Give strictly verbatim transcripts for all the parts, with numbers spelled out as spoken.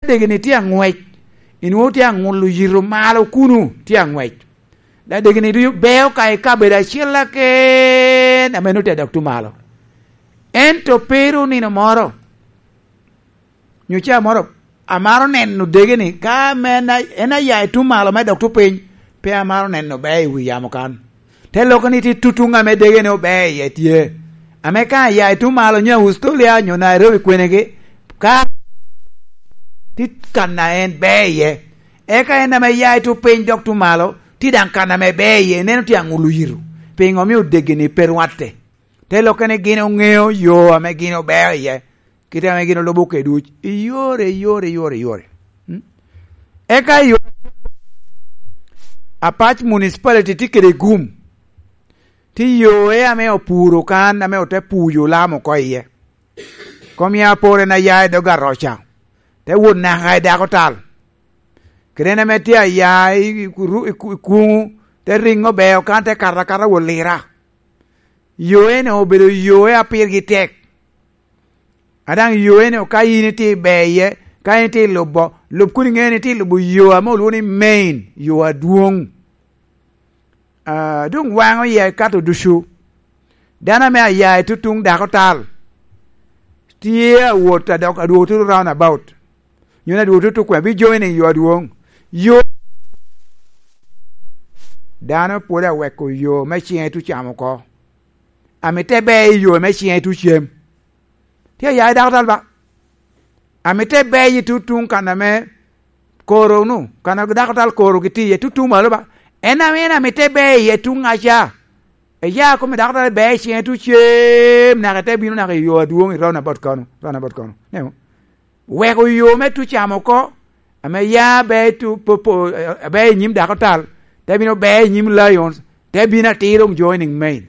degeni tye aŋwec, inwoŋo tye aŋulo yito malo kuno, tye aŋwec. Degeni ducu beo ka i kabedo acel aken ame nwoŋo tye adok tuŋ malo. Ento pe ru nino moro, nyo caa moro, amaro neno degeni, ka ame en a-, en aya i tuŋ malo me dok tuŋ piny, pe amaro neno beo i wi yamo kan. Te lokke ni tye tutuŋ ame degeni obeo iye tye. Ame ka aya i tuŋ malo nyo Australia nyo Nairobi kwenegi, ka tye kan a en beo iye. Eka en ame ya i tuŋ piny dok tuŋ malo, tye daŋ kan ame beo iye, ineno tye aŋulo yito. Piŋo omio degeni pe rwatte? Te lokke ni gin oŋeo yo ame gin obeo iye, kite ame gin olubo kede duc, i yore, i yore, i yore, i yore. Mm? Eka i yore, Apac Municipality tye kede gum, tye yoe ame opuro kan, ame ote puyo Lam oko iye. Kom ya apor en aya i dog Aroca, te wot naka i Dako Tal. Kede en ame tye aya i, i, i, i Kuŋu, te riŋo beo kan, te kato akata wot Lira. Yo eno obedo yo a pirgi tek. A daŋ yo eno ka in itye i ber iye, ka in itye i lubo, lub kun iŋeo ni itye i lubo yo ame olwoŋo ni main, yo adwoŋ. Ah, doŋ waŋo iye kato ducu. Dano ame aya i tutuŋ Dako Tal tye awot adok, adwogo tutu round about. Nyo ni adwogo tutu kwe, bi joining yo adwoŋ. Yo dano pwod aweko yo me ciŋe tucam oko. Amite ber i yo me ciŋe tucem. Tye aya i Dako Tal ba. Amite ber i tutuŋ kan ame koro nu, kan a Dako Tal koro gitye iye tutuŋ malo ba. En ame en amite ber iye tuŋ aca. Eya kome Dako Tal ber i ciŋe tucem, naka ite bino naka i yo adwoŋ i round about kano, round about kano. Neno? Weko yo me tucam oko, ame ya ber i tu-, po-, po-, eh, ber i nyim Dako Tal, te bino ber i nyim Lions, te bino atir doŋ joining main.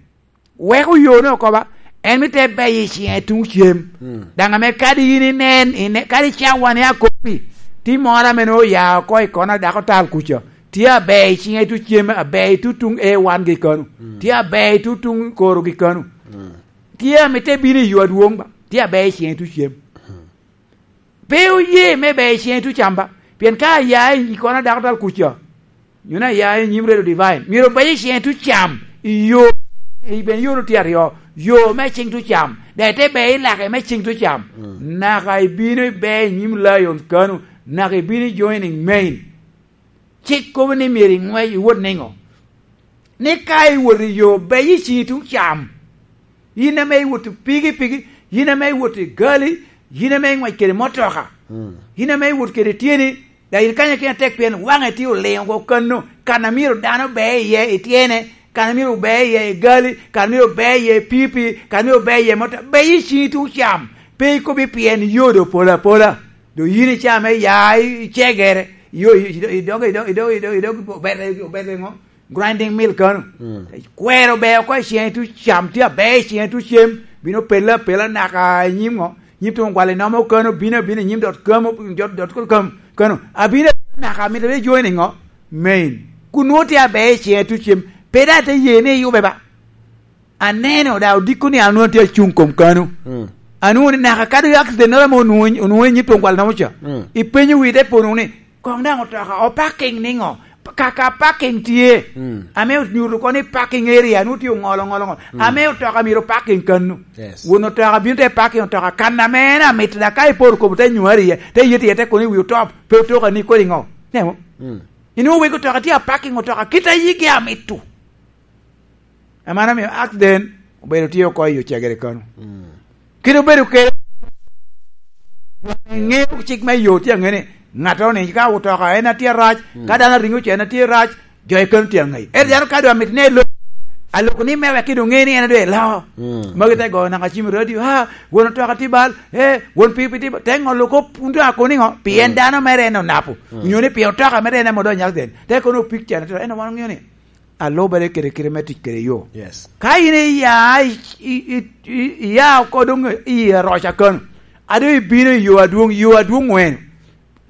Weko yo-nu oko ba, en mi te ber i ciŋe tuŋ cem. Mm. Daŋ ame kadi in inen, ine-, kadi cawa ni akopi, ti moro ame nwoŋo oya oko i kona Dako Tal kuca, tye aber i ciŋe tuŋ cem, aber i tutuŋ A one gi kano, mm, tye aber i tutuŋ koro gi kano. Mm. Tye ame te bino i yo adwoŋ ba, tye aber i ciŋe tuŋ cem. Mm. Pe oye me ber i ciŋe tuŋ cam ba, pien ka aya i kona Dako Tal kuca, nyo ni aya i nyim Redo Divine, myero obed i ciŋe tuŋ cam, i yo, i ben yo-nu tye aryo, yo me ciŋ tuŋ cam, daŋ ite ber i lake me ciŋ tuŋ cam, mm, naka ibino iber i nyim Lions kano, naka ibino i joining main. Cik kobo ni myero iŋwec iwot niŋo? Ni ka iwot i yo, ber i ciŋi tuŋ cam. Yin ame iwot i pikipiki, yin ame iwot i gali, yin ame iŋwec kede motoka, mm, yin ame iwot kede tyeni, daŋ yin kanya kena tek pien waŋe tye oliŋo oko kano, kan a myero dano ber iye i tyene, kan a myero ber iye i gali, kan a myero ber iye i pikipiki, kan a myero ber iye motoka, ber i ciŋi tuŋ cam. Pe ikobi pien yodo polo apola. Doŋ yin icame ya i cegere, yo, i, i, i dog, i dog, i dog, i dog, i dog, obere, obere ŋo? Grinding mill kano. Mm. Kwero ber oko i ciŋe tuŋ cam, tye aber i ciŋe tuŋ cem, bino pelle apela naka i nyim ŋo? Nyim tuŋ gwal inomo kano, bino abina i nyim dot kamo, dot, dot kano. Abino abina naka mito ni joining ŋo? Main. Kun nwoŋo tye aber i ciŋe tuŋ cem, pe daŋ te ye ni iyube ba. Aneno daŋ odiko ni an onwoŋo tye acuŋ kom kano. Mm. Anwoŋo ni naka kadi accident noro ame onwoŋo, onwoŋo i nyim tuŋ gwal nomo ca. Mm. Ipenyo wi te pono ni, "Koŋ daŋ otoka opaking niŋo? Kaka paking tye." Mm. Ame onyuto kono ni paking area, nwoŋo tye oŋolo, ŋolo, ŋolo. Mm. Ame otoka myero paking kano. Yes. Won otoka bino te paking otoka kan ame en amito, da ka iporo kobo te nywari iye, te yet iye, te kono i wi otop, pe otoka ni kodi ŋo. Nemo? Mm. Inwoŋo wegi otoka tye apaking otoka, kit a yigi amito. Amano omio accident obedo tye oko i ocegere kano. Mm. Kit obedo kede, ŋeo cik me yo tye aŋe ni, ŋattoro ni ka otoka en atye arac, mm, ka dano aringo ce en atye arac, jo i kano tye aŋe. Ento dano ka dong amito ni elo, aloko ni me wek ki dong ŋe ni en adong elo. Mm. Magi te goyo naka cim i radio, "Ah, won otoka tye bal, eh, won pikipiki tye bal." Te ŋolo kop, kun dong ako niŋo? Pien, mm, dano mere en onapo. Mm. Onyo ni pien otoka mere en ame odonyo accident. Te kono picture ni, en wan oŋeo ni alubere kede kite me tic kede yo. Yes. Ka in iya i, i, i, i, iya oko doŋ i Aroca kano, a doŋ ibino i yo adwoŋ, yo adwoŋ ŋwen.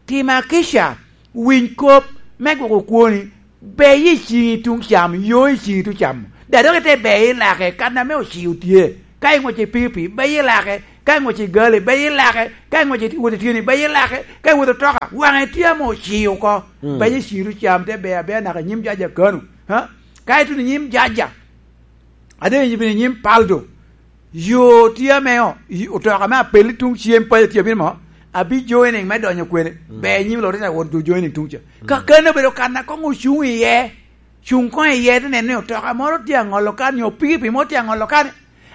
Tim akica, winy kop me gwoko kwoni, beye i ciŋi tuŋ cam, yo i ciŋi tuŋ cam. Da dok ite beye i lake, kan ame ocii otye. Ka iŋwec i pikipiki, beye i lake, Ka iŋwec i gali, beye i lake. Ka iŋwec i wot i tyeni, beye i lake. Ka iwot otoka, waŋe tye ame ociyo oko. Mm. Beye i ciru cam, te ber aber naka i nyim jaja kano. Ha? Ka ituno i nyim jaja, ade i nyim, i nyim paldo, yo tye ame o-, i-, otoka me apel i tuŋ cem paco tye abino mo, abi joining me donyo kwene. Mm. Ber i nyim lorita wot jo joining tuŋ ca. Mm. Ka kano obedo kan a koŋ ocuŋ iye, cuŋ koŋ iye, te neno ni otoka moro tye aŋolo kan, nyo pikipiki moro tye aŋolo kan.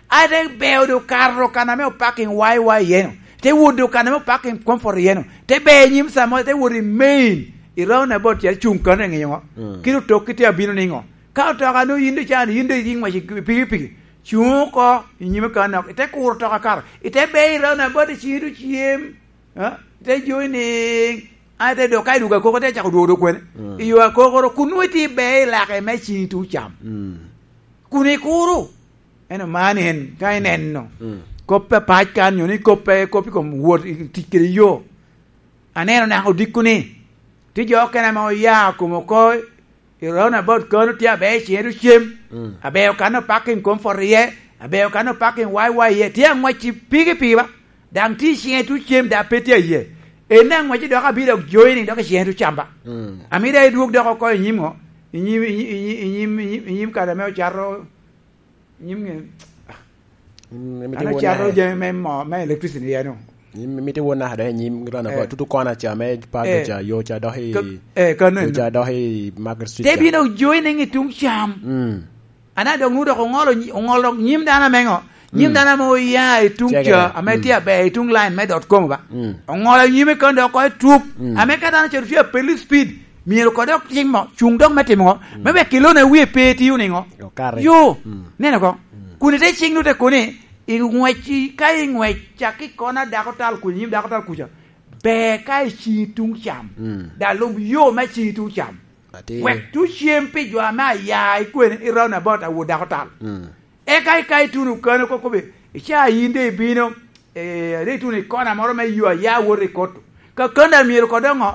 A te beo do kato kan ame opaking waiwai iye-nu, te wot do kan ame opaking comfort iye-nu, te beo i nyim samo, te wot i main, i roundabout ca cuŋ kano i ŋiyo ŋo. Mm. Kit otok kit tye abino niŋo? Ka otoka no yin do can, yin do yin ŋwec i pikipiki, cuŋ oko i nyime kan nok, ite kuro otoka kato, ite beo i roundabout i ciŋi do cem, ha? Ite joining, a ite dok ka idugo akoko, ite cako dwogo do kwene. Mm. I yo akokoro, kun nwoŋo itye i beo i lake me ciŋi tuŋ cam. Mm. Kun ikuro. Eno man en, ka ineno. Mm. Kop apac kan, nyo ni kop pe, kop i kom wot, i tic kede yo. Aneno naka odiko ni, tye jo okene ame oya kom oko, i roundabout kano tye aber i ciŋe do cem, mm, aber okano parking comfort iye, aber okano parking waiwai iye, tye aŋwec i pikipiki ba, daŋ tye i ciŋe tuŋ cem, daŋ pe tye aye. En aŋwec dok abino dok joining dok i ciŋe tuŋ cam ba. Mm. Amito idwog dok oko i nyim ŋo? I nyim, i nyim, i nyim, i nyim, i nyim kare ame ocato, i nyim ŋe? Mm, mito An iwon acato naka. Jami me mo, me electricity ya no. Nyim, mito iwon naka dok i nyim roundabout. Eh. Tutu kona ca me Pardo, eh, ca, yo ca dok i, ka-, eh, kano yo eno. Ca dok i Market Street. Te ca bino joining i tuŋ cam. Mm. Ana dok nu dok oŋolo nyi-, oŋolo nyim dano ame ŋo? Nyim, mm, dano ame oya i tuŋ ca, ame, mm, tye aber i tuŋ line me dot com ba. Mm. Oŋolo nyime kan dok oko i tup. Mm. Ame ka dano cero tye apel i speed, myero ko dok tim mo, cuŋ dok me timo ŋo? Mm. Me wek kilone wie pe tiyo niŋo? Okare. Yo, mm, neno ko. Mm. Kun ite ciŋ nu te koni, i ŋwec, ka i ŋwec, cak i kona dako tal kuca, nyim dako tal kuca. Ber ka i ciŋi tuŋ cam. Mm. Da lub yo me ciŋi tuŋ cam. Atir. Wek tuŋ cem pi jo ame aya i kwene i roundabout a wot dako tal. Mm. Eka, eka ituno kano kokobe, ica yin de ibino, eh, ade ituno i kona moro me yo aya wot i koto. Ka kano myero kodo ŋo?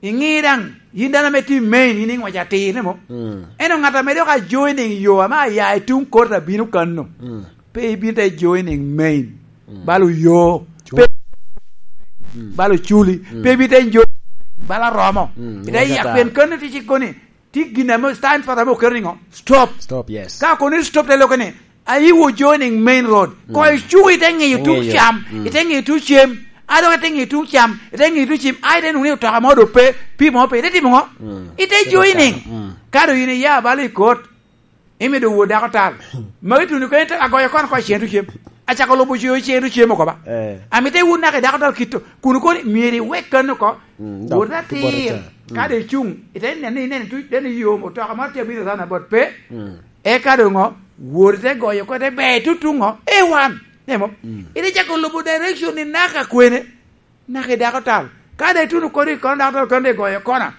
Iŋi daŋ, yin dano ame tye i main, yin iŋwec atir, ne mo? Mm. Ento ŋat ame dok ajoining yo ame aya i tuŋ kota bino kano. Mm. Pe ibin te joining main. Mm. Balo yo. Cu-, pe, mm, balo culi. Mm. Pe ibin te jo, balo romo. Mm. Ite yak pien kano tye cik koni. Tye gin ame sign for ame oketo niŋo? Stop. Stop, yes. Ka kono stop te lokke ni, are you joining main road? Mm. Ko icuko ite ŋiyo tuŋ cam, mm, ite ŋiyo tuŋ cem, a dok ite ŋiyo tuŋ cam, ite ŋiyo tuŋ cem, a ite nwoŋo ni otoka mo do pe, pi mo pe, ite timo ŋo? Mm. Ite joining. Mm. Ka do yin iya balo i kot, imido wot dako tal. Magi tuno kene te agoyo kono ko cen tuŋ cem. Acako lubo cen, cen tuŋ cem oko ba. Eh. Amito iwot naka i dako tal kito, kun kono myero iwek kano oko. Mm, dok wot atir, bot ata. Mm. Ka do icuŋ, ite neno ni ineno tuŋ, neno yo, otoka moro tye abino sana bot pe. Mm. Eka doŋ ŋo? Wot ite goyo oko, ite ber tutuŋ ŋo? E wan. Nemo? Mm. Ite cako lubo direction ni naka kwene? Naka i dako tal. Ka de ituno kodi i kono dako tal, kono de igoyo kona.